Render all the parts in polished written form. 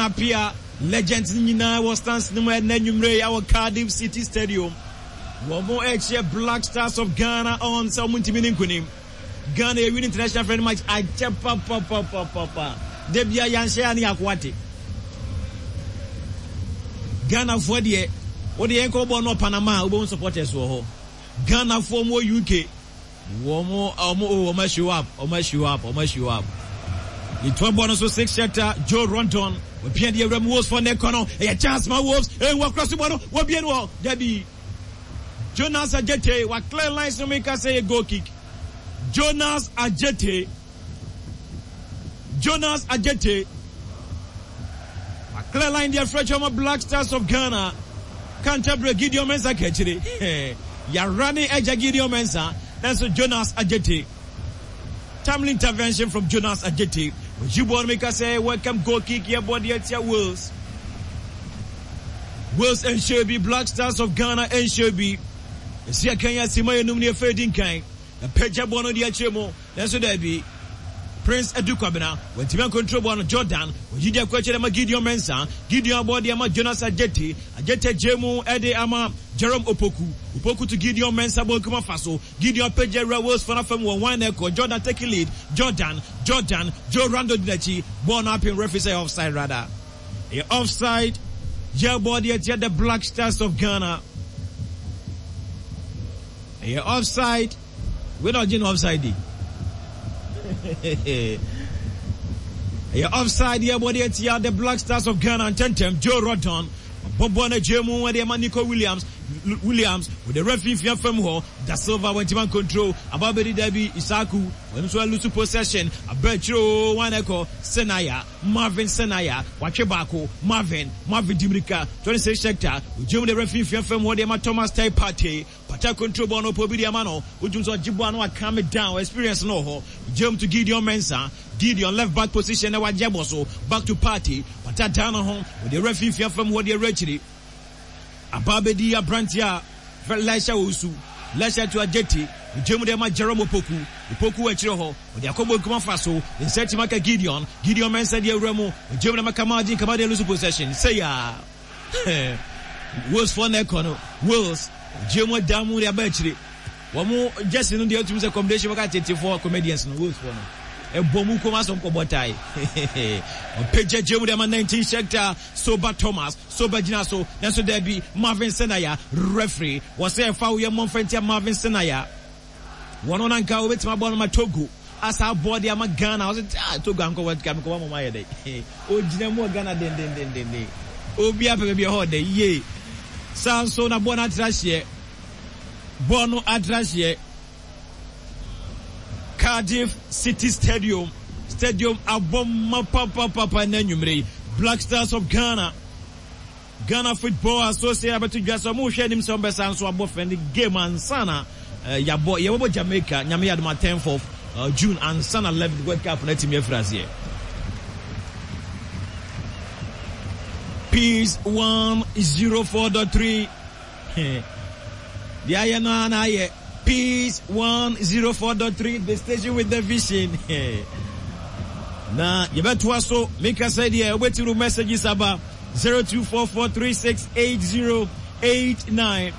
Appiah, legends no nyinaa wɔ stands no mu ɛnnɛ anwummere yi wɔ Cardiff City Stadium. Wɔn ɛrekyerɛ Black Stars of Ghana on sɛ wɔn ntumi ne nkunim. Ghana yɛ win international friendly match akyɛ papapapapapa. Da bia yɛanhyɛ a ne yɛako ate. Ghanafoɔ deɛ wode yɛn kɔ bɔ no Panama a wobɛhu supporters wɔ hɔ. Ghanafoɔ mu wɔ UK. Wɔn wɔn o wɔn show up wɔn show up wɔn show up. Yɛtoa bɔ no so six chapter Joe Rondon wɔpia deɛ awura mu Wolves fɔ ne kɔ no ɛyɛ chance ma Wolves ehu akora so bɔ no wɔbie no wɔ dabi Jonas Adjetey wa clear lines no meka sɛ yɛ goal kick Jonas Adjetey Jonas Adjetey wa clear line deɛ frɛ kyɛ Black Stars of Ghana Canterbury Gideon Mensah kakyire yara ne agya Gideon Mensah nanso Jonas Adjetey timely intervention from Jonas Adjetey oyi bɔɔl no meka sɛ welcome goal kick yɛ bɔ deɛ tia Wales Wales nhyɛ bi Black Stars of Ghana nhyɛ bi esi akan yɛ asima yɛ num ne efe di nkan Apagya bɔɔl no de akyerɛ mu, nanso daabi. Prince Adu Kwabena, wantumi ankontrol bɔɔl no. Jordan, wayi de akɔ akyire ama Gideon Mensah. Gideon abɔ de ama Jonas Adjetey. Adjetey agyae mu de ama Jerome Opoku. Opoku to Gideon Mensah bonkum afa so. Gideon apagya awura Wales fo no afa mu wɔ hwan na ɛkɔ. Jordan taking lead. Jordan, Jordan, Joe Rando di n'akyi. Bɔɔl no apem referee sɛ ɛyɛ offside rather. Ɛyɛ offside. Yɛbɔ de atia the Black Stars of Ghana. Ɛyɛ offside. Wei na ɔgye no offside di. Ɛyɛ offside yɛ bɔ de atia the Black Stars of Ghana ntɛntɛm Joe Rodon ɔbɔ bɔɔl no agye mu ɛde ama Nico Williams Williams wɔde awura mfimfini afam hɔ Da Silva wɔntumi ankontrol aba bɛdi dabi Isaku wɔn nso alusu possession aba akyire o wɔn ɛkɔ Senaya Marvin Senaya watwe baako Marvin Marvin di mirika 26 Schechter ogye mu de awura mfimfini afam hɔ de ama Thomas Teye Partey Pata control bɔɔl no ɔpɛ obi de ama no wotumi sɛ ɔgye bɔɔl no wa calm it down experience no wɔ hɔ Gyam to Gideon Mensah Gideon left back position na wagye abɔ so back to Partey Pata dan no ho ɔde awura mfimfini afam hɔ de awura akyiri aba abɛdi aberanteɛ a fɛ Elisha Owusu Elisha to Adjetey Gyam de ama Jerome Opoku Opoku wɔ akyire hɔ ɔde akɔbɔ nkuma fa so ne nsa atumi aka Gideon Gideon Mensah de awura mu Gyam de ama Kamaldeen Kamaldeen lose possession sɛ yaa Wales foɔ na ɛkɔ no Wales gye mu da mu de aba akyire wɔn jersey no deɛ otumi sɛ combination bɛka tetefoɔ comedians no Wales foɔ no ɛbɔ mu kɔn asɔm kɔbɔ tae ɔpagya gye mu de ama 19 Schechter Soba Thomas Soba gyina so nanso daabi Marvin Senaya referee wɔsɛ ɛfa woyɛ mmɔmfɛntia Marvin Senaya Wɔn na nka wɔbɛtumi abɔ no ma Togo asa abɔ de ama Ghana. Ɔsɛ ah Togo ankɔ World Cup nkɔba mɔmɔ ayɛ dɛ. Ogyina mu wɔ Ghana dendendenden. Obi apɛ baabi ɛhɔ dɛ yie. Saa nso na bɔɔl no atra hyeɛ. Bɔɔl no atra hyeɛ. Cardiff City Stadium. Stadium abɔ ma papapapa na anwummere yi. Black Stars of Ghana. Ghana Football Association abɛto dwa sɛ wɔrehwɛ anim sɛ wɔbɛsan nso abɔ friendly game ansa na yɛabɔ yɛbɛbɔ Jamaica Nyame yɛ adom a 10th of June ansa na 11th World Cup no atumi afiri aseɛ. Peace 104.3 Deɛ ayɛ no ara na ayɛ. Peace 104.3 the station with the vision. Na yɛbɛtoa so meka sɛ deɛ wobɛtumi no messages aba 0244368089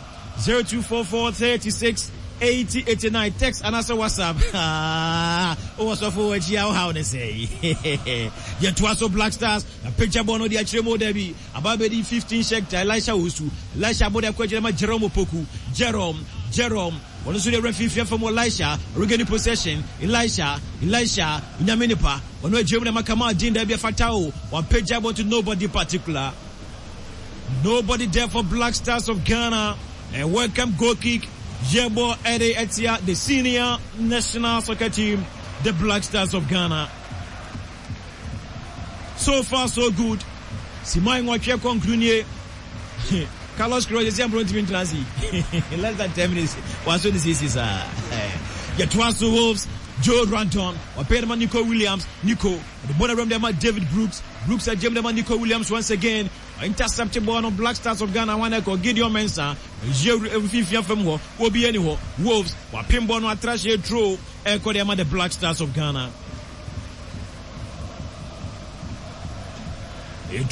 024436 8089 text anaasɛ whatsapp wowɔ sɔfo wɔ akyi a wohaw ne sɛ yɛtoa so Black Stars apagya bɔ no de akyerɛ mu da bi Aba abɛdi 15 Schechter, Elisha Owusu, Elisha abɔ de akɔ akyire ama Jerome Opoku, Jerome, Jerome, ɔno nso de awura mfimfini afa mu Elisha, regain possession, Elisha, Elisha, Onyame nipa, ɔno agyina mu de ama Kamal Deen, daabi ɛfata o, wampagya bɔ to nobody particular. Nobody there for Black Stars of Ghana. And welcome goal kick. Yebo Ede Etia, the senior national soccer team, the Black Stars of Ghana. So far so good. Simai nwɔtwe kɔnkuru nie. Carlos Queiroz esi ampro ntumi ntena ase. Less than 10 minutes. Waso ne siesie saa. Yɛtoa so Wolves. Joe Ranton. Wapɛ de ma Nico Williams. Nico. Ɔde bɔ n'awuram de ma David Brooks. Brooks agyem de ma Nico Williams once again. Intercept bɔɔl no Black Stars of Ghana wɔn ɛkɔ Gideon Mensah. Ɛyɛ mfimfini afam hɔ. Obi ani hɔ. Wolves. Wapem bɔɔl no atra hyɛ turo. Ɛkɔ de ama the Black Stars of Ghana.